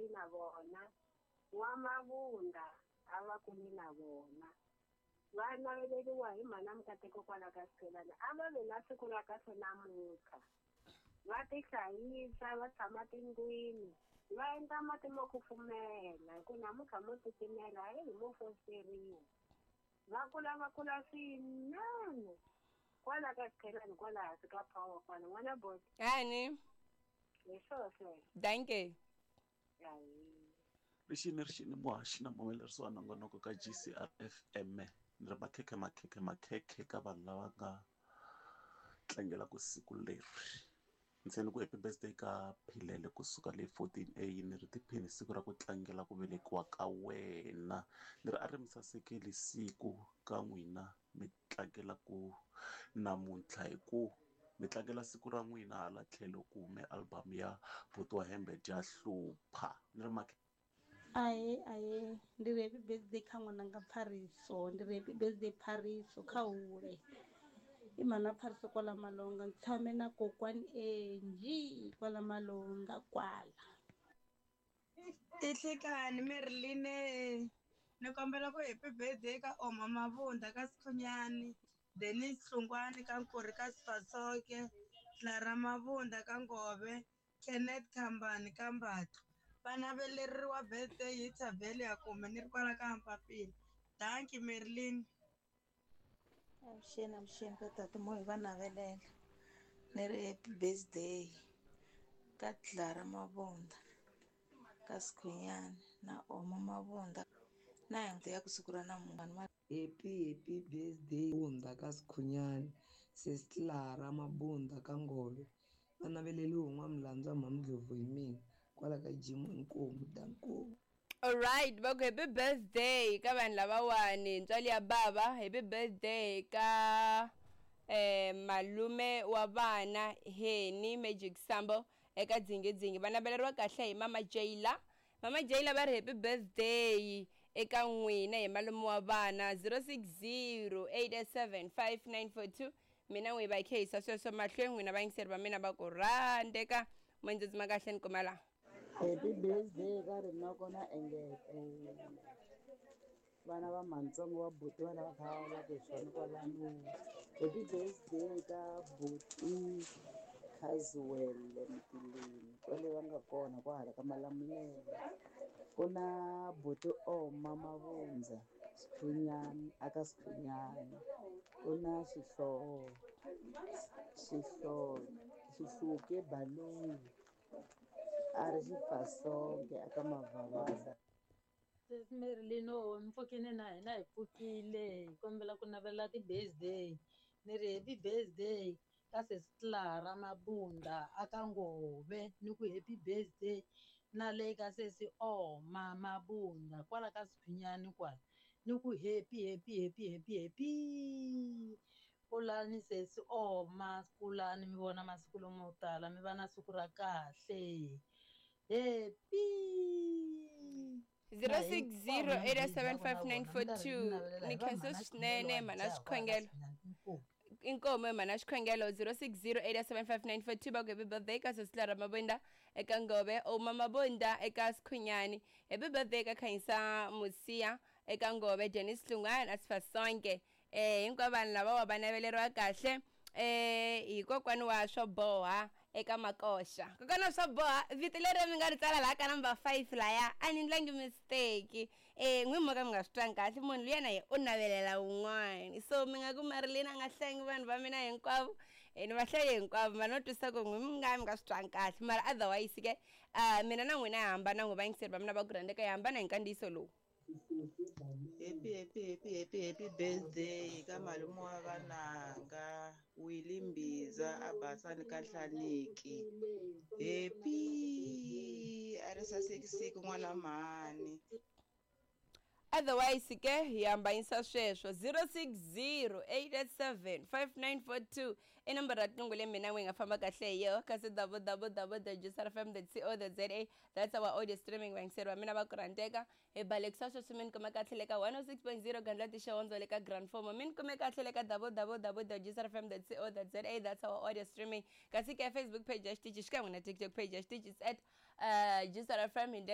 kuli na vona. N'wa-Mabunda a va kuli na vona. Va naveleriwa hi mhana Mukateko kwala ka Xiphelani. A va ve na siku ra kahle namuntlha. Va tihlayisa, va tshama tindlwini, va endla mati mo kufumela hi ku namuntlha mo titimela heyi mo fosteriwa. Va kula va kula swinene kwala ka Xiphelani kwala hansi ka power kwala. N'wana Boti. Hani. Hi swona sweswo. Dankie. Rixini rixini muhaxi na muhumelerisi wa nongonoko ka G_C_R F_M ni ri makhekhe makhekhe makhekhe ka vanhu lava nga tlangelaku siku leri ndzi ni ku happy birthday ka Philele kusuka le 14 A ni ri tiphini siku ra ku tlangela ku velekiwa ka wena ni ri a ri mi sasekeli siku ka n'wina mi tlangela ku namuntlha hi ku mi tlangela siku ra n'wina hala tlhelo ku hume album ya buti wa hembe dya hlupha ni ri makhe Ahee ahee ndi ri happy birthday kha ṅwananga Pfariso ndi ri happy birthday Pfariso kha hule i mhana Pfariso kwala Malonga ni tshame na kokwani Angie kwala Malonga kwala. I nhlikani Merline ni kombela ku happy birthday ka Oma Mabunda ka Sikhunyani Dennis Hlungwani ka Nkurhi ka Sifasoke Clara Mabunda ka Ngove Kenneth Khambani ka Mbatlo va naveleriwa birthday hi Thavhele ya kume ni ri kwala ka Mpapila dankie Merlin. Avuxeni avuxeni ka tata mo hi va navelela ni ri happy birthday ka Clara Mabunda ka Sikhunyani na Oma Mabunda na hi ya ku siku ra namuntlha. Happy happy birthday Mabunda ka Sikhunyani sis Clara Mabunda ka Ngove va naveleliwe hi N'wamulandza Mhamdlovu hi mina kwala ka gym inkomu danko. Alright, va ku happy birthday ka vanhu lavawani ntswali ya bava happy birthday ka eh, malume wa vana Henny Magic Sambo eka dzingidzingi va naveleriwa kahle hi mama Jayla mama Jayla va ri happy birthday eka n'wina hi malume wa vana 060 887 5942 mina n'wi va khehisa sweswo mahlweni n'wina vayingiseri va mina va ku rhandeka mondzedzima kahle ni kuma laha Happy birthday ka Rinoko na Engete vana va mhantsongo wa buti va lava kha va ku hi swona kwalano happy birthday ka buti Casuel Mtileni kwale va nga kona kwahala ka Malamulele ku na buti Oma Mavundza Sikhunyani aka Sikhunyani ku na xihlovo xihlovo Xihluke Baloyi a ri xifasonge aka Mavhavaza. Sesi Marilyn mi pfukile na hina hi pfukile hi kombela ku navela ti-birthday ni ri happy birthday ka sesi Clara Mabunda aka Ngove ni ku happy birthday na le ka sesi Oma Mabunda kwala ka Sikhunyani kwala ni ku happy happy happy happy happy Kulani sesi Oma kulani mi vona masiku lomo tala mi va na siku ra kahle happy 0608755942 ni khensa swinene mhana xikhongelo inkomo mhana xikhongelo 0608755942 va ku happy birthday ka sesi Clara Mabunda eka Ngove Oma Mabunda eka Sikhunyani happy birthday ka Khanyisa Musiya eka Ngove Dennis Hlungwana Asifasonke eh hinkwavo vanhu lavawa va naveleriwa kahle eh hi kokwani wa swo boha eka makoxa kokwana wa swo boha vito leri mi nga ri tsala laha ka number 5 laya a ni ndlangi mistake eh n'wi mo ka mi nga swi twangi kahle munhu luya na ye u navelela wun'wani so mi nga ku Marilyn a nga hlangi vanhu va mina hinkwavo eh ni va hlaye hinkwavo mara no twisisa ku n'wi mi nga mi nga swi twangi kahle mara otherwise ke mina na n'wina hi hambana n'wi vayingiseri va mina va ku rhandzeka hi hambana hi nkandziyiso lowu Happy happy happy happy happy birthday ka malume wa vananga Willy Mbiza a Basani ka Hlaniki happy a ri saseki siku n'wana mhani. Otherwise ke hi hambanyisa sweswo 060 887 5942 i nomboro ya tinqingho leyi mina n'wi nga famba kahle hi yoho kasi www.juicerfm.co.za that's our audio streaming vayingiseri va mina va ku rhandzeka hi balekisa sweswi mi ni kume kahle le ka 106.0 gandlati xihondzo le ka grand fomo mi ni kume kahle le ka www.juicerfm.co.za that's our audio streaming kasi ke facebook page ya xitichi xikan'we na tiktok page ya xitichi is at juicerfm hi ndlela